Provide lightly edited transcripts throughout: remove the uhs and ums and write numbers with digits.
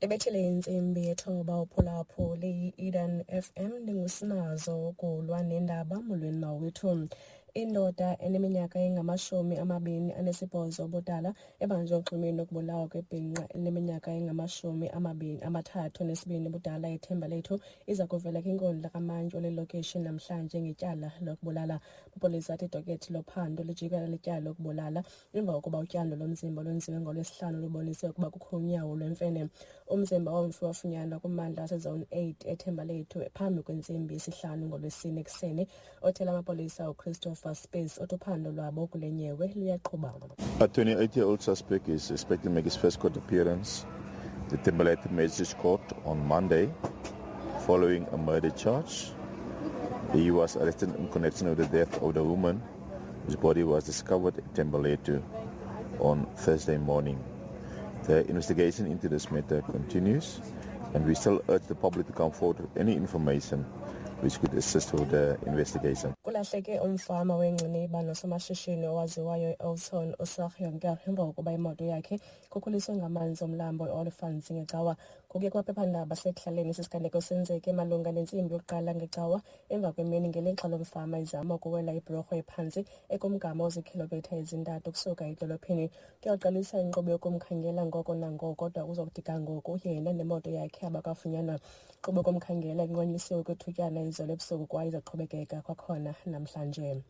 Ebethile intsimbi yethoba uphulaphule i-Eden FM, ndingusinazo ukulwa nendaba. Molweni mawethu. Indoda eneminyaka engama-28 ubudala ebanjwe oxhumeni lokubulawa kwebhinqa elineminyaka engama-32 ubudala eThembalethu iza kuvela kwinkundla kamantyi wale lokishi namhlanje ngetyala lokubulala. Amapolisa athi idokethi lophando lijikela lityala lokubulala emva kokuba utyando lomzimba olwenziwe ngoLwesihlanu lubonise ukuba kukho unyawo lwemfene. Umzimba womfi wafunyanwa kummandla waseZone 8 eThembalethu phambi kwentsimbi yesihlanu ngoLwesine ekuseni. Othela amapolisa uChristopher Spies uthi uphando lwabo kule nyewe luyaqhuba. A 28-year-old suspect is expected to make his first court appearance at the Thembalethu Magistrates Court on Monday following a murder charge. He was arrested in connection with the death of the woman whose body was discovered at Thembalethu on Thursday morning. The investigation into this matter continues, and we still urge the public to come forward with any information which could assist with the investigation. Kulahleke umfama wengciniba nosomashishini owaziwayo e-Oudtshoorn uSarah Jonker emva kokuba imoto yakhe ikhukuliswe ngamanzi omlambo i-Olifants ngeCawa. Ngokuya kumaphephandaba asekuhlaleni, esi siganeko senzeke malunga nentsimbi yokuqala ngeCawa emva kwemini ngelixa lo mfama ezama ukuwela ibhulorho ephantsi ekumgama oziikhilomitha ezintathu ukusuka edolophini. Kuyaqalisa inkqubo yokumkhangela ngoko nangoko, kodwa kuzokuthi ga ngoku yena nemoto yakhe abakafunyanwa. Inkqubo yokumkhangela inqunyanyisiwe kwithutyana izolo ebusuku kwaye izaqhubekeka kwakhona namhlanje.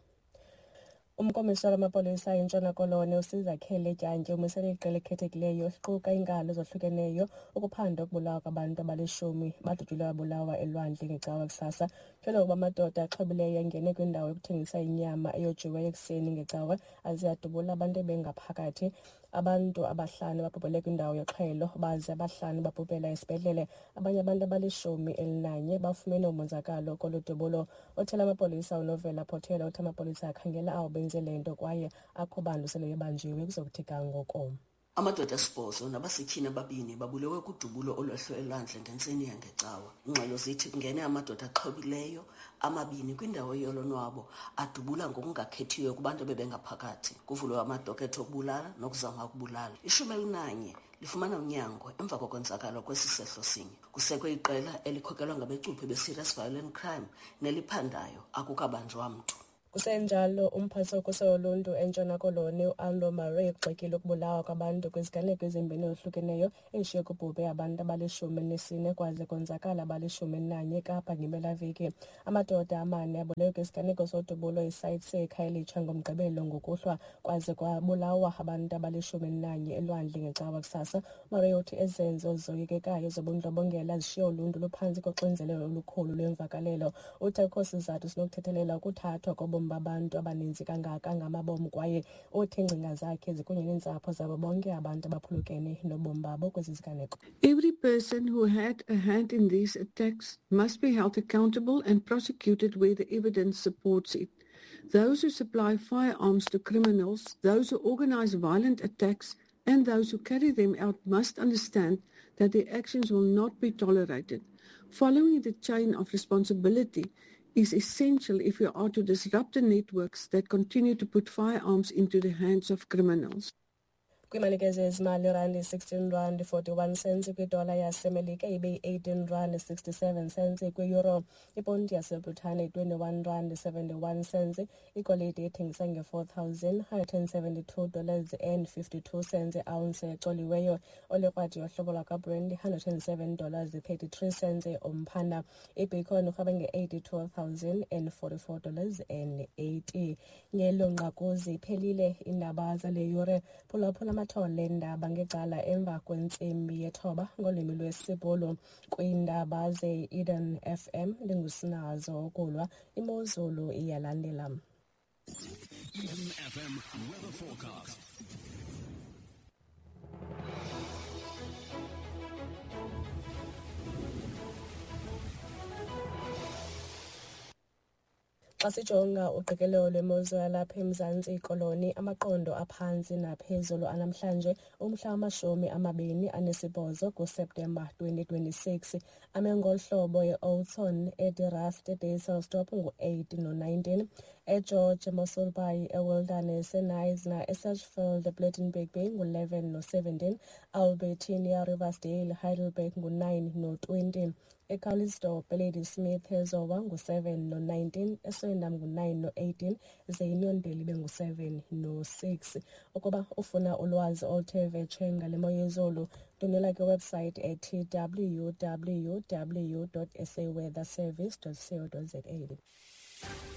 Umkomishinala wamapolisa eNtshona Koloni uSizakhele Dyantyi umisele iqela elikhethekileyo eliquka iinkalo ezohlukeneyo ukuphanda ukubulawa kwabantu abalishumi badutyulwe babulawa elwandle ngeCawa kusasa. Kutyholwa ukuba amadoda axhobileyo angene kwindawo yokuthengisa inyama eyojiweyo ekuseni ngeCawa aze adubula abantu ebengaphakathi. Abantu abahlanu babhubhele kwindawo yoxhelo baze abahlanu babhubhela esibhedlele. Abanye abantu abali-11 bafumene umonzakalo kolu dubulo. Othela amapolisa uNovela Potelwa uthi amapolisa akhangela abo benze le nto kwaye akho bantu sele bebanjiwe kuzokuthi ga ngoku. Amadoda asibhozo nabasetyhini ababini babulewe kudubulo olwehle elwandle ngentseni yangeCawa. Ingxelo zithi kungene amadoda axhobileyo amabini kwindawo yolonwabo adubula ngokungakhethiyo kubantu abebengaphakathi. Kuvulwe amadokethe okubulala nokuzama ukubulala. 11 lifumana unyango emva kokonzakala kwesi sehlo sinye. Kusekwe iqela elikhokelwa ngabecuphi be-Serious Violent Crime neliphandayo, akukabanjwa mntu. Kusenjalo, umphathiswa wokhuselo loluntu eNtshona Koloni uAldo Murray ugxekile ukubulawa kwabantu kwiziganeko ezimbini ezahlukeneyo ezishiye kubhubhe abantu abali-14 kwaze konzakala abali-11 eKapa ngempelaveki. Amadoda amane abulewe kwisiganeko sodubulo eSite C eKhayelitsha ngoMgqibelo ngokuhlwa kwaze kwabulawa abantu abali-11 elwandle ngeCawa kusasa. UMurray uthi ezi zenzo zoyikekayo zobundlobongela zishiye uluntu luphantsi koxinzelelo olukhulu lwemvakalelo. Uthi akukho sizathu sinokuthethelela ukuthathwa kobomi babantu abaninzi kangaka ngamabom kwaye uthi iingcinga zakhe zikunye neentsapho zabo bonke abantu abaphulukene nobomi babo kwezi ziganeko. Every person who had a hand in these attacks must be held accountable and prosecuted where the evidence supports it. Those who supply firearms to criminals, those who organize violent attacks, and those who carry them out must understand that their actions will not be tolerated. Following the chain of responsibility is essential if we are to disrupt the networks that continue to put firearms into the hands of criminals. Kwiimalike zezimali, irandi 16 rand 41 cents kwidola yaseMelika, ibe yi-18 rand 67 cents kwiyuro. Iponti yaseBritane 21 rand 71 cents. Igolide ithengisa nge-$4,172 dollars and 52 cents iounce ecoliweyo. Olikrwadi yohlobo lwakwaBrent 107 dollars 33 cents umphanda. Ibitcoin urhweba nge-$82,044 dollars and 80. Ngelo nqaku ziphelile iindaba zale yure. Phulaphula amathole endaba ngecala emva kwentsimbi yethoba ngolwimi lwesiBhulu kwiindaba ze-Eden FM. Ndingusinazo ukulwa. Imozulu iyalandela. Eden FM weather forecast. Xa sijonga uqikelelo lwemozulu yalapha eMzantsi Koloni, amaqondo aphantsi naphezulu anamhlanje umhla wama-28 kuSeptemba 2026 ame ngolu hlobo: eOudtshoorn, eDe Rust, eDysselsdorp ngu-8 no-19, eGeorge, eMossel Bay, eWilderness, eKnysna, eSedgefield, ePlettenberg Bay ngu-11 no-17, Albertinia, Riversdale, Heidelberg ngu-9 no-20, eCalitzdorp, eLadysmith, eZowa ngu-7 no-19, eSwellendam ngu-9 no-18, ze iNew ibe ngu-7 no-6. Ukuba ufuna ulwazi oluthe vetshe ngale mo yezulu, ndwendwela kwiwebhusayithi ethi www.saweatherservice.co.za.